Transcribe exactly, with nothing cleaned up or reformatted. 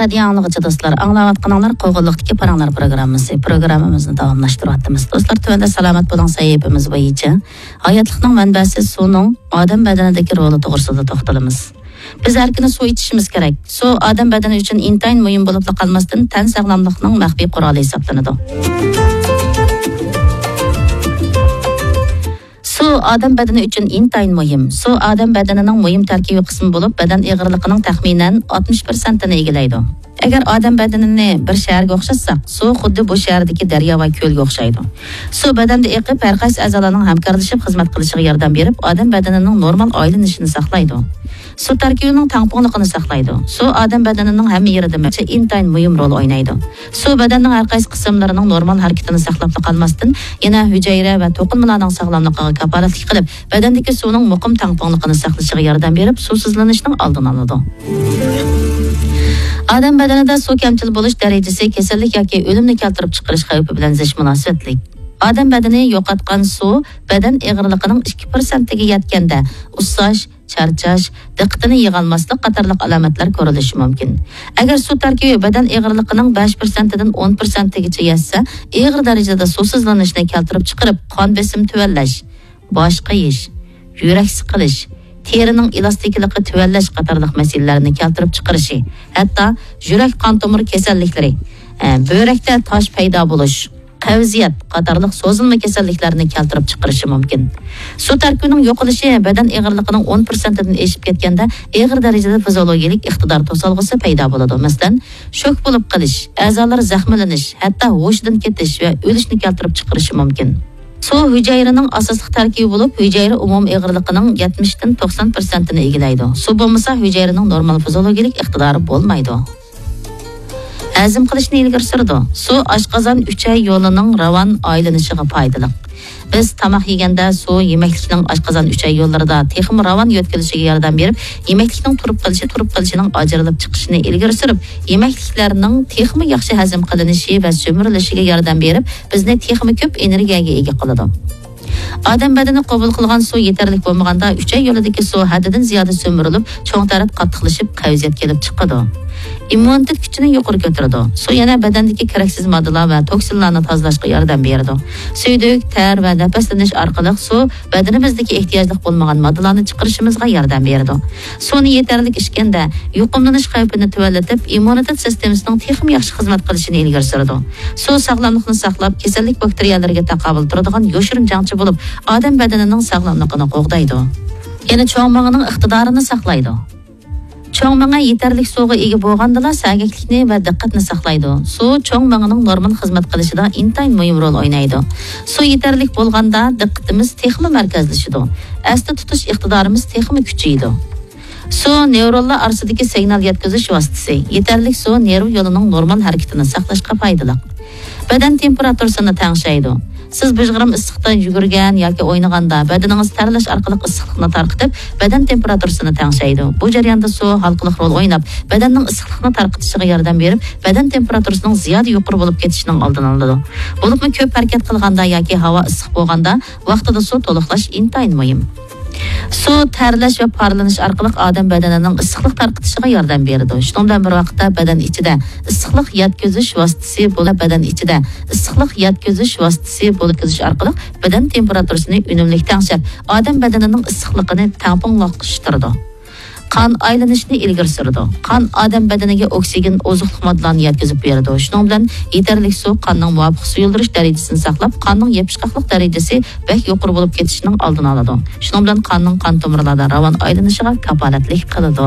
رادىيو ئاڭلىغۇچى دوستلار، ئاڭلاۋاتقىنىڭلار قوغۇنلۇقتىكى پاراڭلار پروگراممىسى. پروگراممىمىزنى داۋاملاشتۇرۇۋاتىمىز. دوستلار، تۆۋەندە سالامەت بولۇڭ سەھىپىمىز بويىچە ھاياتلىقنىڭ مەنبەسى سۇنىڭ ئادەم بەدىنىدىكى رولى توغرىسىدا توختىلىمىز. بىز ھەر كۈنى سۇ ئىچىشىمىز كېرەك. سۇ ئادەم بەدىنى ئۈچۈن ئىنتايىن مۇھىم بولۇپلا قالماستىن، تەن ساغلاملىقنىڭ مەخپىي قورالى ھېسابلىنىدۇ. سۇ ئادەم بەدىنى ئۈچۈن ئىنتايىن مۇھىم. سۇ ئادەم بەدىنىنىڭ مۇھىم تەركىبىي قىسمى بولۇپ، بەدەن ئېغىرلىقىنىڭ تەخمىنەن ئاتمىش پىرسەنتىنى ئىگىلەيدۇ. ئەگەر ئادەم بەدىنىنى بىر شەھەرگە ئوخشاتساق، سۇ خۇددى بۇ شەھەردىكى دەريا ۋە كۆلگە ئوخشايدۇ. سۇ بەدەندە ئېقىپ، ھەر قايسى ئەزالارنىڭ ھەمكارلىشىپ خىزمەت قىلىشىغا ياردەم بېرىپ، ئادەم بەدىنىنىڭ نورمال ئايلىنىشىنى ساقلايدۇ. سۇ تەركىبىنىڭ تەڭپۇڭلۇقىنى ساقلايدۇ. سۇ ئادەم بەدىنىنىڭ ھەممە يېرىدە مە-، ئىنتايىن مۇھىم رول ئوينايدۇ. سۇ بەدەننىڭ ھەر قايسى قىسىملىرىنىڭ نورمال ھەرىكىتىنى ساقلاپلا قالماستىن، يەنە ھۈجەيرە ۋە توقۇلمىلارنىڭ ساغلاملىقىغا كاپالەتلىك قىلىپ، بەدەندىكى سۇنىڭ مۇقىم تەڭپۇڭلۇقىنى ساقلىشىغا ياردەم بېرىپ، سۇسىزلىنىشنىڭ ئالدىنى ئالىدۇ. ئادەم بەدىنىدە سۇ كەمچىل بولۇش دەرىجىسى كېسەللىك ياكى ئۆلۈمنى كەلتۈرۈپ چىقىرىش خەۋپى بىلەن زىچ مۇناسىۋەتلىك. ئادەم بەدىنى يوقاتقان سۇ بەدەن ئېغىرلىقىنىڭ ئىككى پىرسەنتىگە يەتكەندە، ئۇسساش، چارچاش، دىققىتىنى يىغالماسلىق قاتارلىق ئالامەتلەر كۆرۈلۈشى مۇمكىن. ئەگەر سۇ تەركىبى بەدەن ئېغىرلىقىنىڭ بەش پىرسەنتىدىن ئون پىرسەنتىگىچە يەتسە، ئېغىر دەرىجىدە سۇسىزلىنىشنى كەلتۈرۈپ چىقىرىپ، قان بېسىمى تۆۋەنلەش، باش قېيىش، يۈرەك سىقىلىش، تېرىنىڭ ئېلاستىكىلىقى تۆۋەنلەش قاتارلىق مەسىلىلەرنى كەلتۈرۈپ چىقىرىشى، ھەتتا يۈرەك قان تومۇر كېسەللىكلىرى، ئە، بۆرەكتە تاش پەيدا بولۇش، قەۋزىيەت قاتارلىق سوزۇلما كېسەللىكلەرنى كەلتۈرۈپ چىقىرىشى مۇمكىن. سۇ تەركىبىنىڭ يوقىلىشى بەدەن ئېغىرلىقىنىڭ ئون پىرسەنتىدىن ئېشىپ كەتكەندە، ئېغىر دەرىجىدە فىزىيولوگىيەلىك ئىقتىدار توسالغۇسى پەيدا بولىدۇ. مەسىلەن، شوك بولۇپ قېلىش، ئەزالار زەخىملىنىش، ھەتتا ھوشىدىن كېتىش ۋە ئۆلۈشنى كەلتۈرۈپ چىقىرىشى مۇمكىن. سۇ ھۈجەيرىنىڭ ئاساسلىق تەركىبى بولۇپ، ھۈجەيرە ئومۇمىي ئېغىرلىقىنىڭ يەتمىشتىن توقسان پىرسەنتىنى ئىگىلەيدۇ. سۇ بولمىسا، ھۈجەيرىنىڭ نورمال فىزىيولوگىيەلىك ئىقتىدارى بولمايدۇ. ھەزىم قىلىشنى ئىلگىرى سۈرىدۇ. سۇ ئاشقازان ئۈچەي يولىنىڭ راۋان ئايلىنىشىغا پايدىلىق. بىز تاماق يېگەندە سۇ يېمەكلىكنىڭ ئاشقازان ئۈچەي يوللىرىدا تېخىمۇ راۋان يۆتكىلىشىگە ياردەم بېرىپ، يېمەكلىكنىڭ تۇرۇپ قېلىشى، تۇرۇپ قېلىشىنىڭ ئاجرىلىپ چىقىشىنى ئىلگىرى سۈرۈپ، يېمەكلىكلەرنىڭ تېخىمۇ ياخشى ھەزىم قىلىنىشى ۋە سۈمۈرۈلۈشىگە ياردەم بېرىپ، بىزنى تېخىمۇ كۆپ ئېنېرگىيەگە ئىگە قىلىدۇ. ئادەم بەدىنى قوبۇل قىلغان سۇ يېتەرلىك بولمىغاندا، ئۈچەي يولىدىكى سۇ ھەددىدىن زىيادە سۈمۈرۈلۈپ، چوڭ تەرەت قاتتىقلىشىپ، قەۋزىيەت كېلىپ چىقىدۇ. ئىممۇنىتېت كۈچىنى يۇقىرى كۆتۈرىدۇ. سۇ يەنە بەدەندىكى كېرەكسىز ماددىلار ۋە توكسىنلارنى تازىلاشقا ياردەم بېرىدۇ. سۈيدۈك، تەر ۋە نەپەسلىنىش ئارقىلىق سۇ بەدىنىمىزدىكى ئېھتىياجلىق بولمىغان ماددىلارنى چىقىرىشىمىزغا ياردەم بېرىدۇ. سۇنى يېتەرلىك ئىچكەندە، يۇقۇملىنىش خەۋپىنى تۆۋەنلىتىپ، ئىممۇنىتېت سىستېمىسىنىڭ تېخىمۇ ياخشى خىزمەت قىلىشىنى ئىلگىرى سۈرىدۇ. سۇ ساغلاملىقنى ساقلاپ، كېسەللىك باكتېرىيەلىرىگە تاقابىل تۇرىدىغان يوشۇرۇن جەڭچى بولۇپ، ئادەم بەدىنىنىڭ ساغلاملىقىنى قوغدايدۇ. يەنە چوڭ مېڭىنىڭ ئىقتىدارىنى ساقلايدۇ. چوڭ مېڭە يېتەرلىك سۇغا ئىگە بولغاندىلا، سەگەكلىكنى ۋە دىققەتنى ساقلايدۇ. سۇ چوڭ مېڭىنىڭ نورمال خىزمەت قىلىشىدا ئىنتايىن مۇھىم رول ئوينايدۇ. سۇ يېتەرلىك بولغاندا، دىققىتىمىز تېخىمۇ مەركەزلىشىدۇ. ئەستە تۇتۇش ئىقتىدارىمىز تېخىمۇ كۈچىيىدۇ. سۇ نېۋرونلار ئارىسىدىكى سىگنال يەتكۈزۈش ۋاسىتىسى. يېتەرلىك سۇ نېرۋا يولىنىڭ نورمال ھەرىكىتىنى ساقلاشقا پايدىلىق. بەدەن تېمپېراتۇرىسىنى تەڭشەيدۇ. سىز بىر گرام ئىسسىقتا يۈگۈرگەن ياكى ئوينىغاندا، بەدىنىڭىز تەرلەش ئارقىلىق ئىسسىقلىقنى تارقىتىپ، بەدەن تېمپېراتۇرىسىنى تەڭشەيدۇ. بۇ جەرياندا سۇ ھالقىلىق رول ئويناپ، بەدەننىڭ ئىسسىقلىقنى تارقىتىشىغا ياردەم بېرىپ، بەدەن تېمپېراتۇرىسىنىڭ زىيادە يۇقىرى بولۇپ كېتىشىنىڭ ئالدىنى ئالىدۇ. بولۇپمۇ كۆپ ھەرىكەت قىلغاندا ياكى ھاۋا ئىسسىق بولغاندا، ۋاقتىدا سۇ تولۇقلاش ئىنتايىن مۇھىم. سۇ تەرلەش ۋە پارلىنىش ئارقىلىق ئادەم بەدىنىنىڭ ئىسسىقلىق تارقىتىشىغا ياردەم بېرىدۇ. شۇنىڭ بىلەن بىر ۋاقىتتا بەدەن ئىچىدە ئىسسىقلىق يەتكۈزۈش ۋاسىتىسى بولۇپ، بەدەن ئىچىدە ئىسسىقلىق يەتكۈزۈش ۋاسىتىسى بولۇپ يەتكۈزۈش ئارقىلىق بەدەن تېمپېراتۇرىسىنى ئۈنۈملۈك تەڭشەپ، ئادەم بەدىنىنىڭ ئىسسىقلىقىنى تەڭپۇڭلاشتۇرىدۇ. قان ئايلىنىشنى ئىلگىرى سۈرىدۇ. قان ئادەم بەدىنىگە ئوكسىگېن، ئوزۇقلۇق ماددىلارنى يەتكۈزۈپ بېرىدۇ. شۇنىڭ بىلەن يېتەرلىك سۇ قاننىڭ مۇۋاپىق سۇيۇلدۇرۇش دەرىجىسىنى ساقلاپ، قاننىڭ يېپىشقاقلىق دەرىجىسى بەك يۇقىرى بولۇپ كېتىشىنىڭ ئالدىنى ئالىدۇ. شۇنىڭ بىلەن قاننىڭ قان تومۇرلاردا راۋان ئايلىنىشىغا كاپالەتلىك قىلىدۇ.